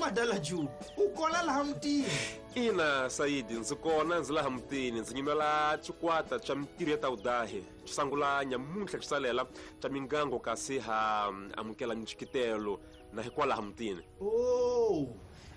Madala Juma, u kona laha mutini? Ina Saidi, ndzi kona, ndzi laha mutini, ndzi nyimela xikwata xa mintirho ya tawudahi xi sangula nyamuntlha xi salela xa mingango kasi ha amukela mixikitelo na hikwalaha mutini. Oh,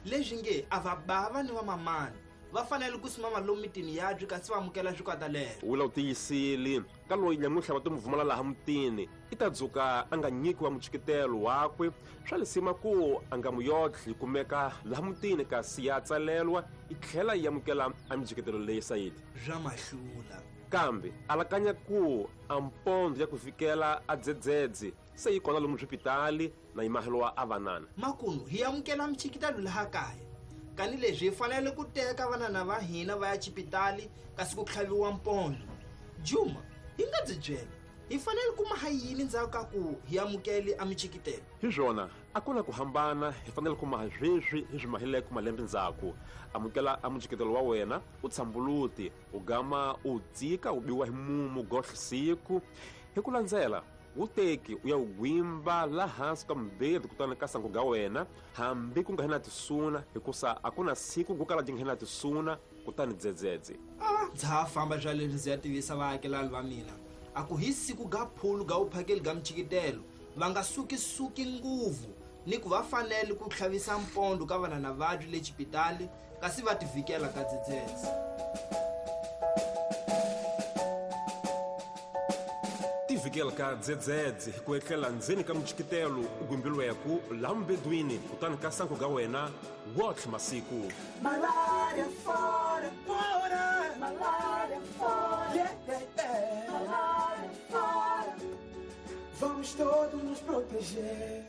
leswi nge a va bava ni vamamani va fanele ku simama lomu mitini yabyi kasi va amukela swikwata lero. Wula u tiyisile ka loyi nyamuntlha va to mu vumala laha mutini i ta dzuka a nga nyikiwa muchikitelo wakwe swa lisima ku a nga muyotlhi kumeka laha mutini kasi ya tsalelwa i tlhela yi amukela a mijikitelo leyi Saidi. Swa mahlula. Kambe alakanya ku a mpondo ya ku fikela a dzedzedze se yi kona lomu swipitali na yi mahelo a vanana. Makunu hi amukela michikitelo laha kaya kani leswi hi fanele ku teka vanana va hina va ya xipitali kasi ku tlhaviwa mpondo. Juma, hi nga byi byela hi fanele ku maha yini ndzhaku ka ku hi amukele a michikitelo? Hi swona, a ku na ku hambana, hi fanele ku maha sweswi hi swi mahileke malembe ndzhaku. Amukela a muchikitelo wa wena u tshambuluti u gama u dzika u biwa hi mumu gohle siku hi ku landzela wu teki u ya wu gwimba la hansi ka mubedi kutani ka sangu ga wena hambi ku nga hi na tisuna hikusa a ku na siku ku kala dyi nga hi na tisuna kutani dzedzedze. A ndza ha famba swa leswi ndzi ya tivisa vaakelani va mina a ku hi siku ga phulu ga vuphakeli ga michikitelo va nga sukisuki nguvu ni ku va fanele ku tlhavisa mpondo ka vanana vabyi le xipitali kasi va tivikela ka dzedzedze. Tivikela ka dzedzedze hi ku etlela ndzeni ka michikitelo u gwimbiliweku laha mubedwini kutani ka sangu ga wena wotlhe masiku. Malaria fora, fora, malaria fora, yeah, yeah, yeah. Malaria fora. Vamos todos nos proteger.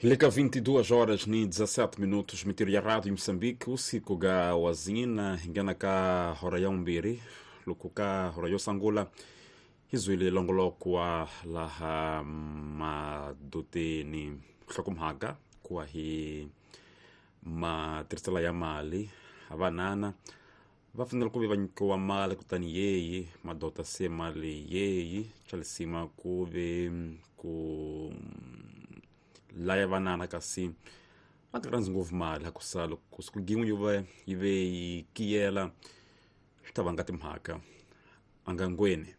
Leka 22 horas ni 17 minutos mitiro ya Rádio Moçambique usiku ga wazina ingena ka hora ya umbiri luku ka hora yo sangula hizwile longolokwa laha madoteni hlokomhaka kuwa hi matirhiselo ya mali avanana va fanele ku ve va nyikiwa mali kutani yeyi madota se mali yeyi xa lisima ku ve ku laya vanana kasi va nga rhandzi ngopfu mali hakusa loko siku gin'we yo va yi ve yi kiyela swi ta vanga timhaka angangweni.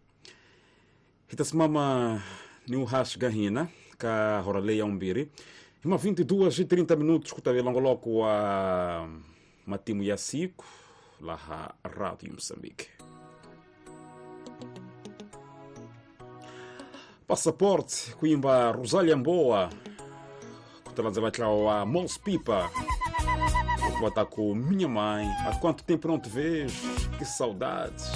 Hi ta simama ni uhaxi ka hina ka hora leyi ya vumbirhi hi ma 22:30 minutos ku ta ve longoloko wa matimu ya siku laha Radio Moçambique. Passaporte kuimba Rosália Mboa kutalandzela ntlawa wa Mos Pipa ku va ta ku minha mãe há quanto tempo não te vejo, que saudades.